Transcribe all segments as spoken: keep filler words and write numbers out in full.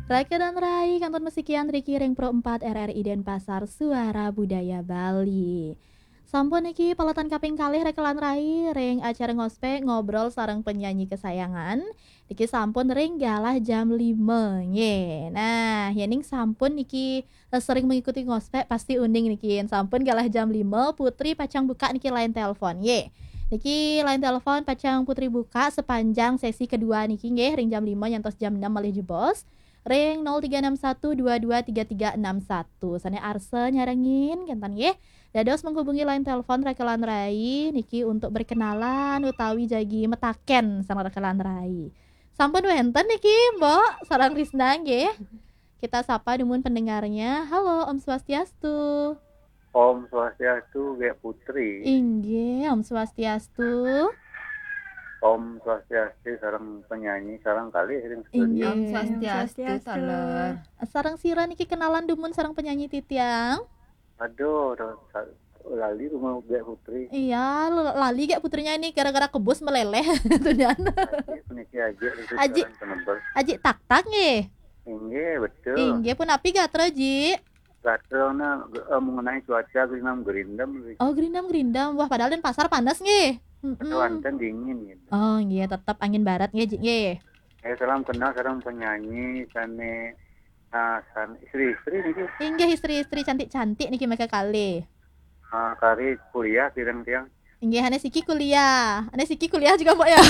Raka lan rai, kantun masikian riki ring Pro empat R R I Denpasar, Suara Budaya Bali. Sampun niki paletan kaping kalih Raka lan rai ring acara Ngospek, ngobrol sareng penyanyi kesayangan. Niki sampun ring galah jam lima, nggih. Nah, yening sampun niki, eh, sering mengikuti Ngospek, pasti uning niki. Sampun galah jam lima, Putri pacang buka niki line telepon, nggih. Niki line telepon pacang Putri buka sepanjang sesi kedua niki, nggih, ring jam lima nyantos jam enam malih jebos. Ring nol tiga enam satu dua dua tiga tiga enam satu. Sane arsa nyarengin, kenten, nggih. Dados menghubungi line telepon Raka lan rai niki untuk berkenalan utawi jagi metaken sareng Raka lan rai. Sampun wenten niki, Mbok, sareng Risna, nggih. Kita sapa dumun pendengarnya. Halo, Om Swastiastu. Om Swastiastu, Gek Putri. Inggih, Om Swastiastu. Om Swastiastu, sareng penyanyi, sareng kalih ring studio. Inggih. Om Swastiastu, Swastiastu. Taler. Sareng sira niki kenalan dumun sareng penyanyi titiang? Aduh, aduh, sa-, lali rumah Gek Putri. Iya, l-, lali Gek Putrinya ini gara-gara kebus meleleh. Tuh, Jan. Aji, puniki Aji, itu Aji. Sareng penebel. Aji Tak Tak, nggih? Inggih, betul. Inggih, punapi gatra, Ji? Gatra, nah, ge-, eh, mengenai cuaca, gerindam-gerindam, Ri. Oh, gerindam-gerindam. Wah, padahal Denpasar panas, nggih. Mm-mm. Betul, wonten dingin, gitu. Oh, nggih, tetep angin barat, nggih, Ji, nggih. Eh, salam kenal sareng penyanyi sane, ah, san-, istri-istri niki. Inggih, istri-istri cantik-cantik niki maka kalih. Ah, kari kuliah kirang tiang. Inggih, ane siki kuliah. Ane siki kuliah juga, Mbok, ya?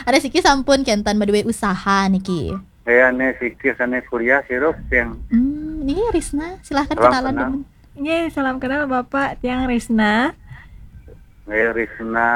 Ane siki sampun kenten madue usaha niki. Eh, ane siki sane kuliah sirup tiang. Hmm, niki Risna, silahkan. Salam kenalan kenal. Dulu. Nggih, salam kenal Bapak, tiang Risna. Nggih, Risna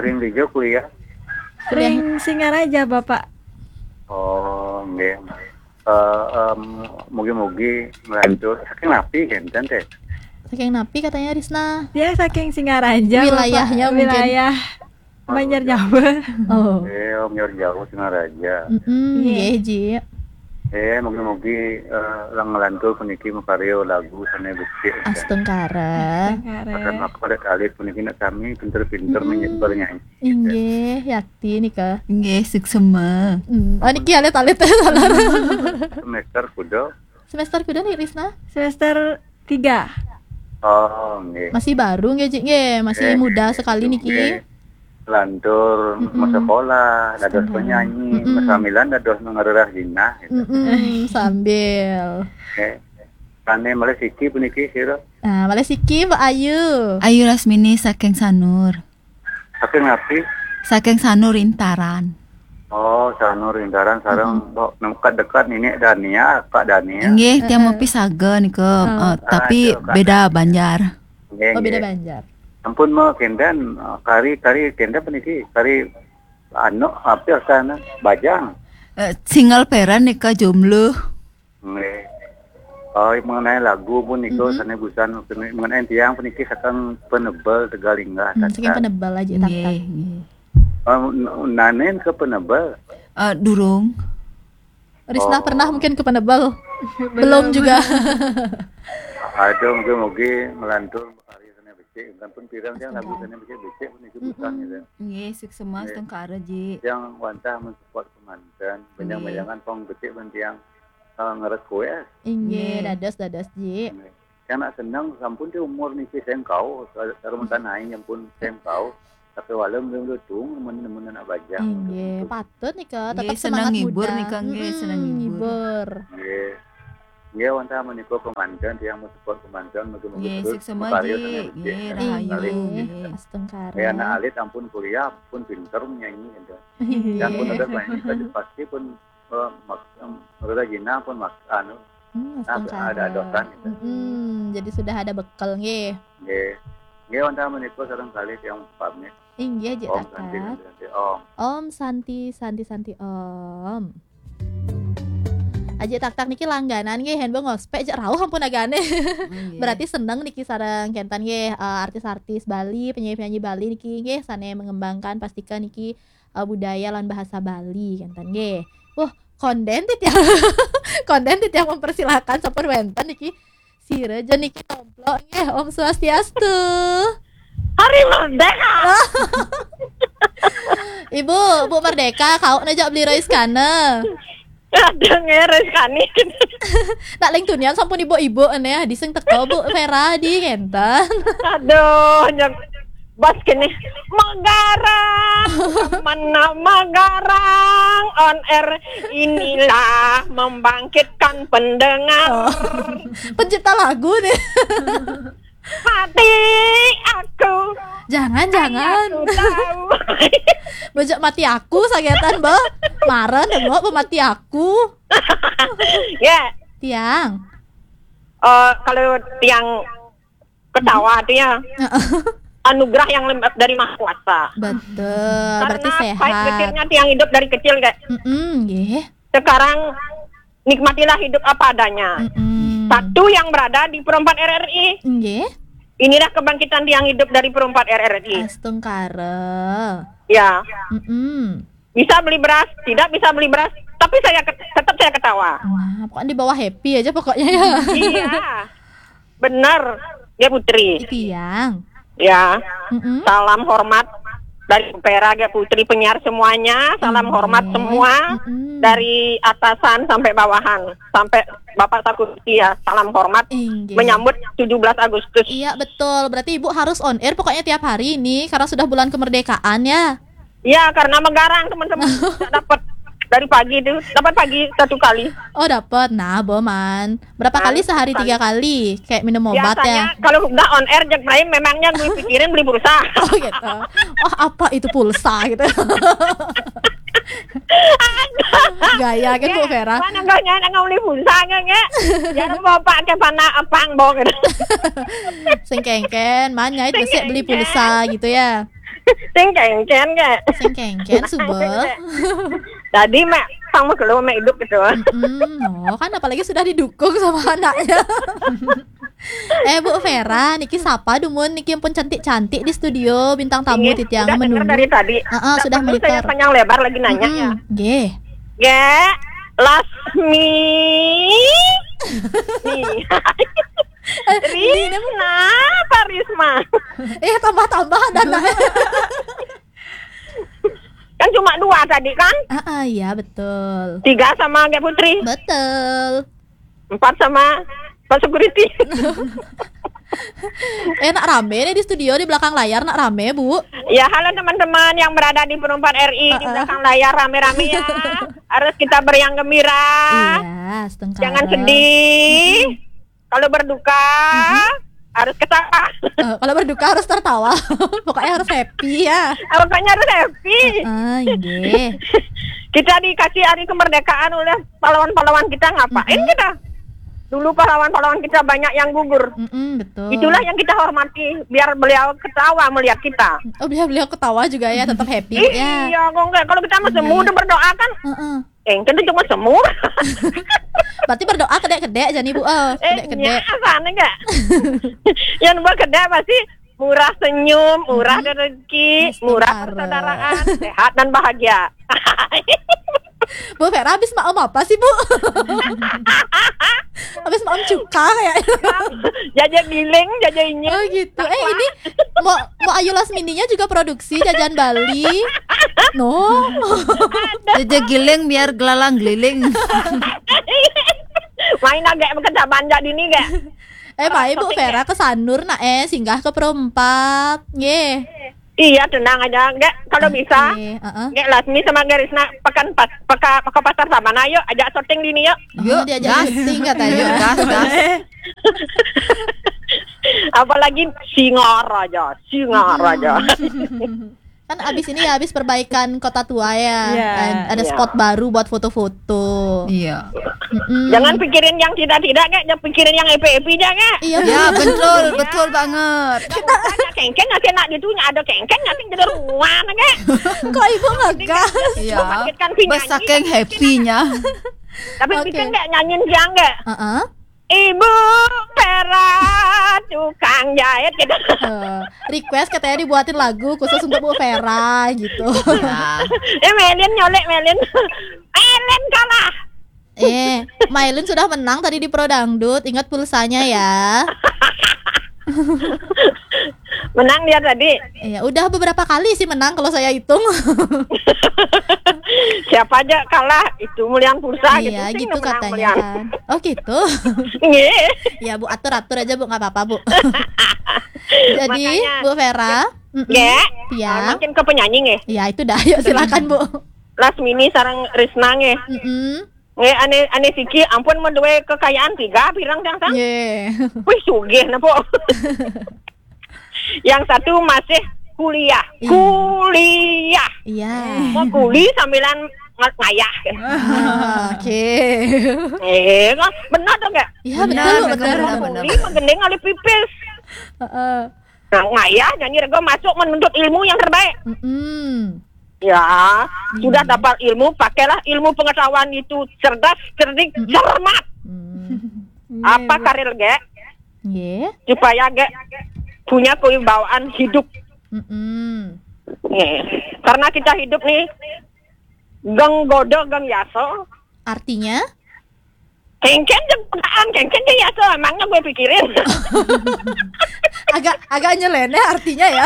ring dija kuliah? Kuliah. Ring Singaraja, Bapak. Oh, nggih. Eh, em, mugi-mugi nglantur. Saking napi kenten, teh? Saking napi katanya Risna? Ya, saking Singaraja, Bapak. Wilayahnya mungkin. Wilayah Banjar Jawa. Oh. Eh, Banjar Jawa, Singaraja. Mm-mm, nggih, Ji. Eh, mugi-mugi, eh, lang nglantur puniki makarya lagu sane becik. Astungkara. Astungkara. Akan apa alit-alit puniki nak sami pinter-pinter, mm-mm, menyebar nyanyi. Inggih, yakti nika. Inggih, suksema. Hmm. Oh, niki alit-alit, taler. Semester kuda? Semester kuda nih, Risna? Semester tiga. Oh, nggih. Masih baru nggih, Ji, nggih. Masih muda sekali niki. Nggih. Lantur, mm-mm, masekolah, dados penyanyi, mm-mm, masamilan dados ngarerah jinah, gitu. Mm-mm, sambil. Nggih. Sane malih siki puniki sira? Nah, malih siki Mbok Ayu. Ayu Lasmini saking Sanur. Saking napi? Saking Sanur Intaran. Oh, Sanur Intaran sareng, mm-mm, Mbok, dekat-dekat Nenek Dania, Kak Dania. Nggih, tiang, heeh, mapis saga nika, oh, eh, tapi aduh, Kak, beda Dania. Banjar. Nggih, oh, beda, nggih. Banjar. Ampun, Mbok, kenten, eh, kari, kari kenten puniki, kari anu, apa sana, bajang. Eh, single parent nika, jomblo. Nggih. Oh, mengenai lagu pun niku, mm-mm, sane busan, mengenai tiang puniki saking Penebel, Tegalinggah, hmm, saking Tatat. Penebel aja, nggih, Tatat. Nggih. Oh, n-, nanen ke Penebel? Eh, durung. Risna, oh, pernah mungkin ke Penebel? Belum. Belum juga. Aduh, mugi-mugi nglantur karya sane becik. Ampun pirang tiang lagu, astungkara, sane becik-becik niku busan, mm-mm, gitu. Nggih, suksema, nggih, astungkara, Ji. Tiang wantah mensupport kemanten, nggih, benjang-benjangan pong becik ben tiang eh, nge-request. Inggih, nggih, dados, dados, Ji. Nggih. Yang nak seneng sampun ti umur niki sengkau, sareng, mm-mm, tanai yang pun sengkau. Tapi walau belum tung, men-, men anak bajang. Inggih, betul. Patut nika, nggih, tetap seneng semangat ngibur muda. Nika, nggih, mm-mm, seneng ngibur. Ngibur. Nggih. Nggih, wantah menika kemanten, tiang mensupport kemanten, mugi-mugi, nggih, terus suksema, makarya, Ji, sane becik, nggih, ya, rahayu, kali. Nggih, nggih. Astungkara. Ya, anak alit ampun kuliah, pun pinter menyanyi, gitu. Inggih. Dan pun ada banyak, pasti pun eh, mak-, em, Rura Gina pun mak-, anu, hmm, nah, astungkara. Ada dosan gitu. Mm-mm, jadi sudah ada bekal, nggih. Nggih. Nggih, wantah menika sareng kalih tiang pamit. Inggih, Ji Tatat. Om Santi, Santi, Santi, Om. Om Santi, Santi, Santi, Om. Aji Tak Tak niki langganan nggih, hen bang ngospek jek rauh ampun agane. Nggih. Berarti seneng niki sareng kenten nggih, eh, artis-artis Bali, penyanyi-penyanyi Bali niki nggih, sane mengembangkan pastika niki eh, budaya lan bahasa Bali, kenten nggih. Wah, konden titiang. Konden titiang mempersilahkan sampun wenten niki. Sira ja niki tomplok nggih, Om Swastiastu. Hari Merdeka. Ibu, Bu Merdeka, kau najak beli rice kana. Ada ngeres kani. Nak leng tunian sampun ibu-ibu ene ya, diseng teko Bu Vera di ngenten. Aduh, nyek bas kene. Megarang, mana Megarang on air, inilah membangkitkan pendengar. Oh. Pencipta lagu nih. Mati aku. Jangan, jangan. Aku tahu. Bejek mati aku sagetan, Bo. Maren deh, Bo, mati aku. Ya. Tiang. Eh, kalau tiang ketawa tuh ya, anugerah yang lem- dari Maha Kuasa. Betul. Karena berarti pahit sehat. Getirnya tiang hidup dari kecil, kayak. Mm-mm, nggih. Sekarang nikmatilah hidup apa adanya. Mm-mm. Satu yang berada di Perempat R R I. Nggih. Inilah kebangkitan tiang hidup dari Perempat R R I. Astungkara. Ya. Mm-mm. Bisa beli beras, tidak bisa beli beras, tapi saya ket- tetap saya ketawa. Nah, pokoknya di bawah happy aja pokoknya ya. Iya. Benar, ya Putri. Tiang. Ya. Mm-mm. Salam hormat dari Vera, ya Putri, penyiar semuanya. Salam hormat semua, mm-mm, dari atasan sampai bawahan, sampai Bapak Sakuti ya. Salam hormat, inggih, menyambut tujuh belas Agustus. Iya, betul. Berarti Ibu harus on air pokoknya tiap hari ini karena sudah bulan kemerdekaan ya. Ya, karena Megarang, teman-teman. Nggak dapat dari pagi itu. Dapat pagi satu kali. Oh, dapat. Nah, Boman. Berapa kali sehari? Nah, satu kali. Tiga kali. Kayak minum obat ya. Biasanya kalau udah on air, Jack Prime, memangnya gue pikirin beli pulsa. Oh, gitu. Oh, apa itu pulsa gitu. Gaya kan, Bu Vera? Mana gaya nak beli pulsa kan, ya? Jangan bawa pakai panah apang, bawa gitu. Sing kengken, mana itu sih beli pulsa gitu ya? Sing kengken, Kak. Sing kengken, subel. Jadi, Mak, sang mah kalau Mak hidup gitu. Mm-mm. Oh, kan apalagi sudah didukung sama anaknya. Eh, Bu Vera, niki sapa dumun niki yang pun cantik-cantik di studio, bintang tamu. Inggih, titiang udah menunggu. Dengar dari tadi. Heeh, nggak sudah perlu saya monitor. Panjang lebar lagi nanya, mm-mm, ya. Nggih. Gak, Lasmi. Nih. Eh, ini Risma, apa Risma? Eh, tambah-tambah dan kan cuma dua tadi kan? Ah, ah, iya, betul. Tiga sama Gek Putri. Betul. Empat sama Pak Security. Eh, nak rame nih di studio, di belakang layar nak rame, Bu. Ya, halo teman-teman yang berada di Perempat R I, di belakang layar rame-rame ya. Harus kita beriang gembira. Iya, setengkara. Jangan sedih. Kalau berduka, harus ketawa. Eh, kalau berduka harus tertawa. Pokoknya harus happy ya. Ah, pokoknya harus happy. Ah, iya. Kita dikasih hari kemerdekaan oleh pahlawan-pahlawan kita, ngapain kita? Dulu pahlawan-pahlawan kita banyak yang gugur. Mm-mm, betul. Itulah yang kita hormati, biar beliau ketawa melihat kita. Oh, biar beliau ketawa juga ya, tetap happy ya. Iya, kok enggak? Kalau kita mah semu udah berdoa kan? Heeh. Eh, kan itu cuma semu. Berarti berdoa kedek-kedek, jani Bu. Eh, kedek-kedek. Nya, apa nih, enggak? Yang buat kedek pasti murah senyum, murah rezeki, murah persaudaraan, sehat dan bahagia. Bu Vera habis maem apa sih, Bu? Habis maem cuka kayaknya. Jaja giling, jaja inyem. Oh, gitu. Eh, ini mau, mau Ayu Lasmininya juga produksi jajan Bali. No. Jaja giling biar gelalang geliling. Main agak bekerja banjak dini, gak? Eh, baik, Bu Vera ke Sanur, nak, eh, singgah ke Perempat. Nggih. Iya, tenang aja. Enggak, kalau bisa. Oke, heeh. Enggak, Lasmi sama Garisna pekan pas, peka, peka pasar Sabana, yuk, ajak syuting dini, yuk. Yuk, diajak syuting katanya. Yuk, gas, gas. Apalagi Singaraja, Singaraja. Kan abis ini ya, abis perbaikan Kota Tua ya. Iya. Kan ada spot baru buat foto-foto. Iya. Mm-mm. Jangan pikirin yang tidak-tidak, Kak. Jangan pikirin yang epi-epi aja, Kak. Iya, ya, betul, betul banget. Ada kengkeng ngasih nak ditunya, ada kengkeng ngasih jadi ruan, Kak. Kok Ibu ngegas? Iya. Membangkitkan penyanyi. Saking happy-nya. Tapi bisa nggak nyanyiin siang nggak? Heeh. Ibu Vera tukang jahit gitu. Eh, request katanya dibuatin lagu khusus untuk Bu Vera gitu. Ya. Eh, Melin nyolek, Melin. Melin kalah. Eh, Mailin sudah menang tadi di Pro Dangdut. Ingat pulsanya ya. Menang dia tadi. Iya, udah beberapa kali sih menang kalau saya hitung. Siapa aja kalah itu mulian pulsa gitu. Iya, gitu katanya kan. Oh gitu. Nggih. Ya Bu, atur-atur aja Bu, nggak apa-apa Bu. Jadi makanya, Bu Vera, nggih. Ya. Makin ke penyanyi nggih. Ya itu dah, yuk silakan Bu. Lasmini sareng Risna nggih. Mm -mm. Nggih, ane ane siki ampun menduwe kekayaan tiga pirang tang tang. Nggih. Wih sugih napa. Yang satu masih kuliah. Iya. Kuliah. Iya. Mau kuliah sambilan ngayah. Ah, oke. Okay. Eh, kan benar dong ya? Iya benar benar benar. Kuliah menggending alih pipis. Uh -uh. Nah, ngayah nyanyi rego masuk menuntut ilmu yang terbaik. Mm -mm. Ya, mm. Sudah dapat ilmu, pakailah ilmu pengetahuan itu cerdas, cerdik, mm -mm. Cermat. Mm. Apa karir ge? Nggih. Supaya ge punya kewibawaan hidup. Mm -mm. Nggih. Karena kita hidup nih geng godo geng yaso. Artinya? Kengken jeng pekaan, kengken jeng yaso, emangnya gue pikirin. Agak agak nyeleneh artinya ya.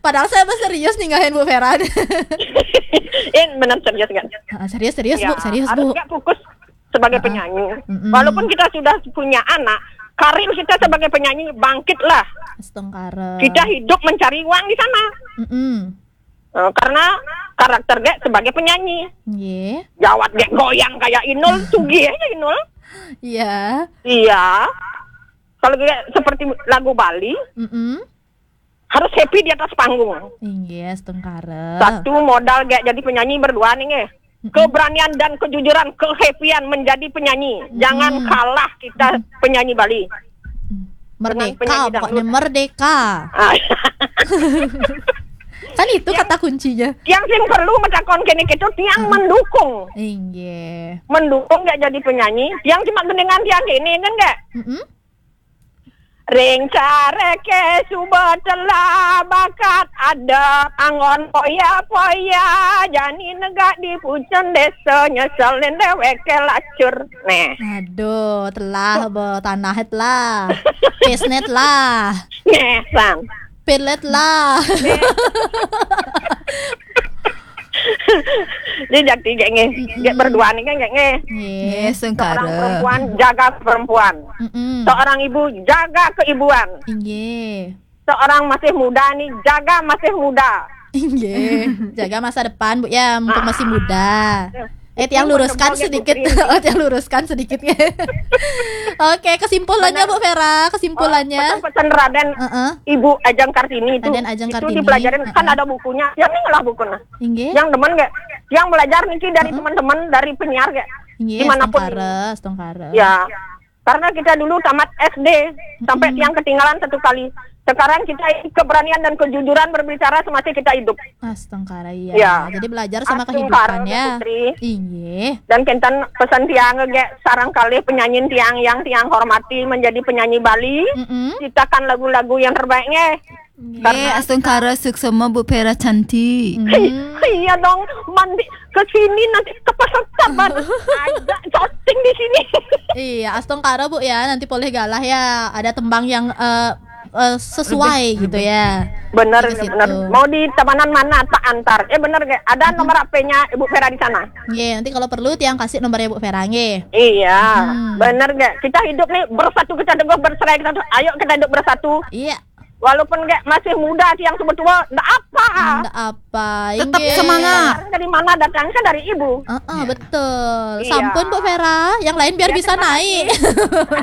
Padahal saya mah serius nih ngahen Bu Vera. Ini benar serius kan? Ah, serius serius ya, Bu, serius harus Bu. Gak fokus sebagai penyanyi. Mm -mm. Walaupun kita sudah punya anak, karir kita sebagai penyanyi bangkitlah. Astungkara. Kita hidup mencari uang di sana. Mm -mm. Uh, karena karakter dia sebagai penyanyi. Yeah. Jawat dia goyang kayak Inul, sugih aja Inul. Iya. Yeah. Iya. Kalau dia seperti lagu Bali, mm -mm. Harus happy di atas panggung. Iya, setengkara. Satu modal gak jadi penyanyi berdua nih, eh. Keberanian dan kejujuran, kehappyan menjadi penyanyi. Jangan kalah kita penyanyi Bali. Merdeka, pokoknya merdeka. Ah. Kan itu kata kuncinya. Yang sing perlu metakon kene itu tiang mendukung. Iya. Mendukung gak jadi penyanyi. Yang cuma dengan tiang ini kan gak? Mm -mm. Ring careke suba telah bakat adep anggon poya-poya jani negak di pucun desa nyeselin deweke lacur. Neh. Aduh, telah bo tanah telah. Pisnet lah. Neh, sang. Pilet lah. Jadi jadi kayak nge, kayak berdua nih kan kayak nge. Nggih, sengkara. Seorang perempuan jaga perempuan. Mm -mm. Seorang ibu jaga keibuan. Nggih. Seorang masih muda nih jaga masih muda. Nggih. Jaga masa depan Bu ya, mumpung masih muda. Eh, tiang luruskan sedikit. Oh, tiang luruskan sedikit. Oke, kesimpulannya Bu Vera, kesimpulannya. Pesan, pesan Raden, uh -uh. Ibu Ajeng Kartini itu, Raden Ajeng Kartini. Itu dipelajarin kan ada bukunya. Yang ini lah bukunya. Inggih. Yang demen gak? Yang belajar niki dari uh -uh. Teman-teman dari penyiar gak? Inggih, dimanapun. Astungkara, astungkara. Ya. Karena kita dulu tamat S D sampai tiang ketinggalan satu kali. Sekarang kita ini keberanian dan kejujuran berbicara semasa kita hidup. Astungkara iya. Ya. Jadi belajar sama kehidupan ya. Iya. Dan kenten pesan tiang ge sarang kali penyanyi tiang yang tiang hormati menjadi penyanyi Bali. Mm -mm. Ciptakan lagu-lagu yang terbaiknya. Nggih, astungkara suksma Bu Vera cantik. Iya dong, mandi ke sini nanti ke pasar Taban. Ada cocing di sini. Iya, astungkara Bu ya, nanti boleh galah ya. Ada tembang yang uh, uh, sesuai lebih, gitu lebih. Ya. Bener, bener. Mau di tabanan mana tak antar. Eh bener gak? Ada nomor H P-nya Ibu Vera di sana. Iya, nanti kalau perlu tiang kasih nomornya Bu Vera nggih. Iya, hmm. Bener gak? Kita hidup nih bersatu kita teguh bercerai kita tuh. Ayo kita hidup bersatu. Iya. Walaupun kayak masih muda sih yang tua-tua, ndak apa. Ndak apa. Tetap semangat. Dari mana datangnya kan dari ibu. Uh -uh, betul. Iya. Sampun Bu Vera, yang lain biar ya, bisa naik.